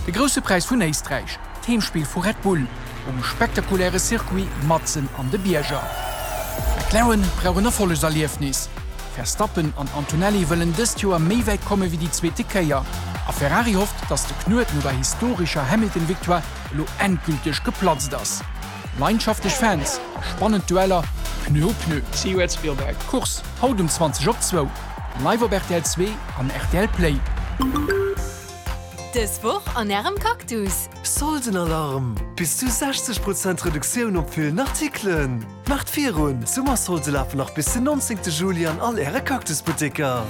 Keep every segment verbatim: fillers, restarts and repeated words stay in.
De Grousse Präis vun Éisträich, d'Heemspill vu Red Bull um spektakuläre Circuit matzen an de Bierger. McLaren brauch en Erfollegserliefnis. Verstappen an Antonelli wëllen dëst Joer méi wäit komme wéi déi zweete Kéier. A Ferrari hofft, datt de Knuet no der historescher Hamilton-Victoire elo endgülteg geplatzt ass. Leidenschaftlech Fans a spannend Dueller, Pneu u Pneu. See you at Spielberg. Course haut um zwanzeg op zwou, live op rtl zwee an rtl Play. Dës Woch an Ärem Cactus. Soldenalarm! Bis zu sechzeg Prozent Reduktioun op villen Artikelen! Maacht virun! D'Summersolde lafen nach bis den nonzéngte Juli an all Äre Cactus-Butteker.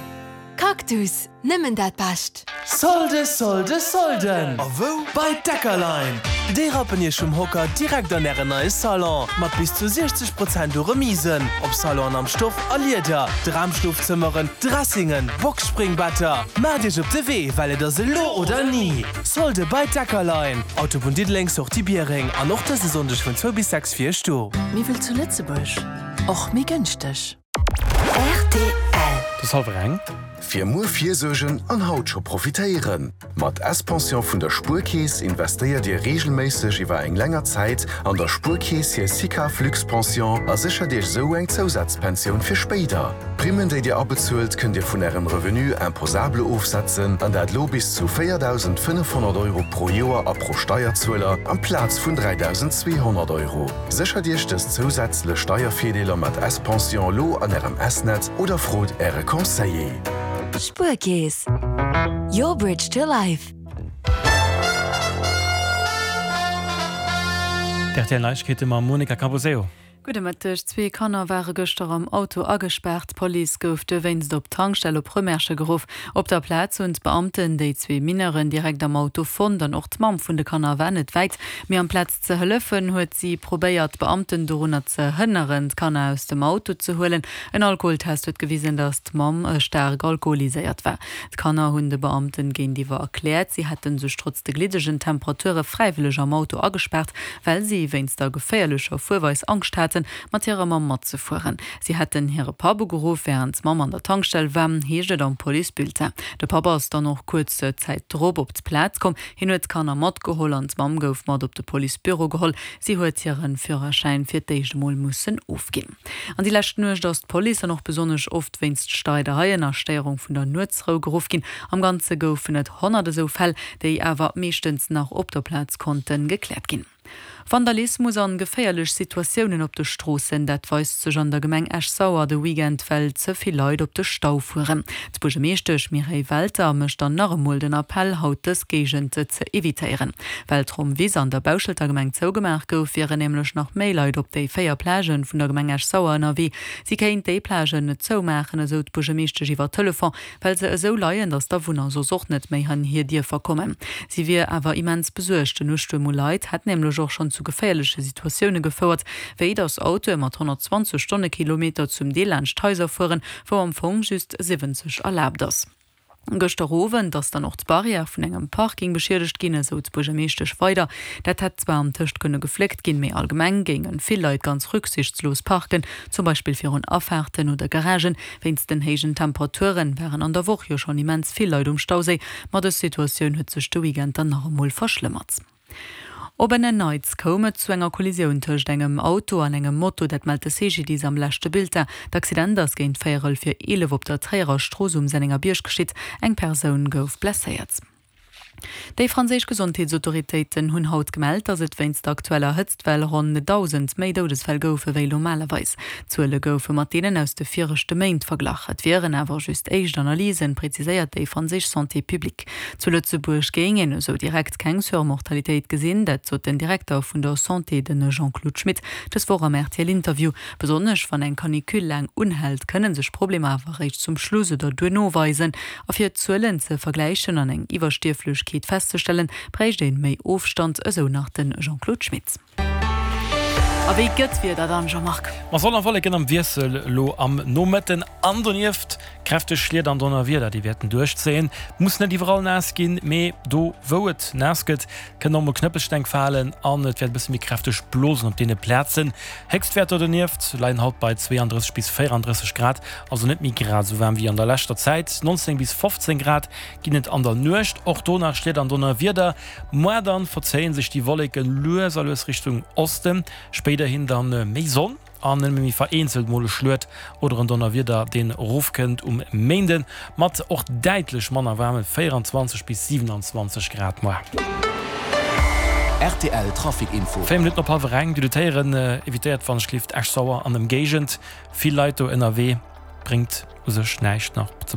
Cactus, nëmmen dat Bescht! Solde, Solde, Solden! A wou? Bei Deckerlein! Déi rappen Iech vum Hocker direkt an Ären neie Salon mat bis zu siechzeg Prozent u Remisen op Salonen am Stoff a Lieder, Dramschlofzëmmeren, Dressingen, Boxspringbetter. Maacht Iech op de Wee, well et ass elo oder ni! Solde bei Deckerlein, Autobunn Diddeleng, Sortie Biereng an och dëse Sonndeg vun zwou bis sechs fir Iech do. Méi wéi zu Lëtzebuerg, och méi gënschteg. Rtl. Et ass hallwer eng. Fir muer virsuergen an haut scho profitéieren! Mat S-Pension vun der Spuerkeess investéiert Dir reegelméisseg iwwer eng länger Zäit an der Spuerkeess hir SICAV Luxpension a séchert Iech esou eng Zousazpensioun fir spéider. D'Primmen, déi Dir abezuelt, kënnt Dir vun Ärem Revenu imposable ofsetzen, an dat lo bis zu véierdausendfënnefhonnert Euro pro Joer a pro Steierzueler, amplaz vun dräidausendzweehonnert Euro. Séchert Iech dës zousätzlech Steiervirdeeler mat S-Pension lo an Ärem S-Netz oder frot Äre Conseiller. Spuerkeess, your bridge to life. D'R T L Neiegkeete mam Monica Camposeo. Gudde Mëtteg. Zwee Kanner ware gëschter am Auto agespaart. D'Police gouf dowéinst op d'Tankstell op Rëmersche geruff. Op der Plaz hunn d'Beamten déi zwee Mineuren direkt am Auto fonnt an och d'Mamm vun de Kanner war net wäit. Mee amplaz ze hëllefen, huet si probéiert, d'Beamten dorunner ze hënneren, d'Kanner aus dem Auto ze huelen. En Alkoholtest huet gewisen, datt d'Mamm staark alkoholiséiert war. D'Kanner hunn de Beamten géintiwwer erkläert, si hätte sech trotz de gliddegen Temperature fräiwëlleg am Auto agespaart, well si wéinst der geféierlecher Fuerweis Angscht haten, mat hirer Mamm matzefueren. Si hätten hire Papp ugeruff, wärend d'Mamm an der Tankstell war, heescht et am Policebulletin. De Papp ass dann och kuerz Zäit drop op d'Plaz komm. Hien huet d'Kanner matgeholl an d'Mamm gouf mat op de Policebüro geholl. Si huet hire Führerschäin fir d'éischt emol mussen ofginn. An déi lescht Nuecht ass d'Police dann och besonnesch oft wéinst Streidereien a Stéierung vun der Nuetsrou geruff ginn. Am Ganze goufen et honnert esou Fäll, déi awer meeschtens nach op der Plaz konnte gekläert ginn. Vandalismus an geféierlech Situatiounen op de Stroossen, dat weist sech an der Gemeng Esch-Sauer de Weekend, well ze vill Leit op de Stau fueren. D'Buergermeeschtesch Mireille Welter mécht dann nach emol den Appell, haut dës Géigend ze evitéieren. Well d'Rommwiss an der Bauschelter Gemeng zougemaach gouf, wieren nämlech nach méi Leit op déi véier Plagen vun der Gemeng Esch-Sauer ënnerwee. Si kéint déi Plagen net zoumaachen, esou d'Buergermeeschtesch iwwer Telefon, well se esou leien, datt d'Awunner soss och net méi an hir Dierfer kommen. Si wier awer immens besuergt. Den Ustuerm u Leit hätt nämlech och schonn zu geféierleche Situatioune gefouert, wéi datt Autoe mat honnertzwanzeg Stonnekilometer zum Deel laanscht Haiser fueren, wou am Fong just siwwenzeg erlaabt ass. Gëschter Owend ass dann och d'Barrière vun engem Parking beschiedegt ginn, esou d'Buergermeeschtesch weider. Dat hätt zwar antëscht kënne gefléckt ginn, mee allgemeng géinge vill Leit ganz rücksichtslos parken, zum Beispill virun Afaarten oder Garagen. Wéinst den héijen Temperature waren an der Woch jo schonn immens vill Leit um Stauséi, ma dës Situatioun huet sech de Weekend dann nach emol verschlëmmert. Op en Neits koum et zu enger Kollisioun tëscht engem Auto an engem Moto, dat mellt de C G D I S am leschte Bulletin. D'Accident ass géint véierel vir eelef op der Tréierer Strooss um Sennengerbierg geschitt. Eng Persoun gouf blesséiert. Déi franséisch Gesondheetsautoritéiten hunn haut gemellt, datt et wéinst der aktueller Hëtztwell ronn dausend méi Doudesfäll goufe wéi normalerweis. D'Zuele goufe mat deenen aus de viregte Méint verglach. Et wieren awer just éischt Analysen, preziséiert déi franséisch Santé publique. Zu Lëtzebuerg géing een esou direkt keng Surmortalitéit gesinn, dat sot den Direkter vun der Santé, de Jean-Claude Schmit, dës Woch am R T L-Interview. Besonnesch wann eng Canicule laang unhält, kënne sech Problemer awer eréischt zum Schluss oder duerno weisen. A fir d'Zuelen ze vergläichen an eng Iwwerstierflechkeet festzestellen, bréicht een méi Ofstand, esou nach de Jean-Claude Schmit. A wéi gëtt d'Wieder dann, Jean-Marc? Ma Sonn a Wolleken am Wiessel lo am Nomëtten an donieft Kräfteg Schliet an Donnerwieder, déi wäerten duerchzéien. Muss net iwwerall naass ginn, mee do wou et naass gëtt, kënnen och mol Knëppelsteng falen an et wäert e bësse méi kräfteg blosen op deene Plazen. Héchstwäerter donieft leien haut bei zweianddrësseg bis véierandrësseg Grad, also net méi grad esou waarm wéi an der leschter Zäit. nonzéng bis fofzéng Grad ginn et an der Nuecht, och do nach Schliet an Donnerwieder. Moar dann verzéie sech déi Wolleke lues a lues Richtung Osten, spéiderhin dann méi Sonn an nëmme méi vereenzelt mol e Schluet oder en Donnerwieder, deen erofkënnt um Méinden, mat och däitlech manner waarme véierundzwanzeg bis siwenanzwanzeg Grad moar. Rtl Trafic Info. Véier Minutten op hallwer eng. D'Dudetéieren evitéiert wann ech gelift Esch-Sauer an Ëmgéigend. Vill Leit do ënnerwee, bréngt u sech näischt nach ze.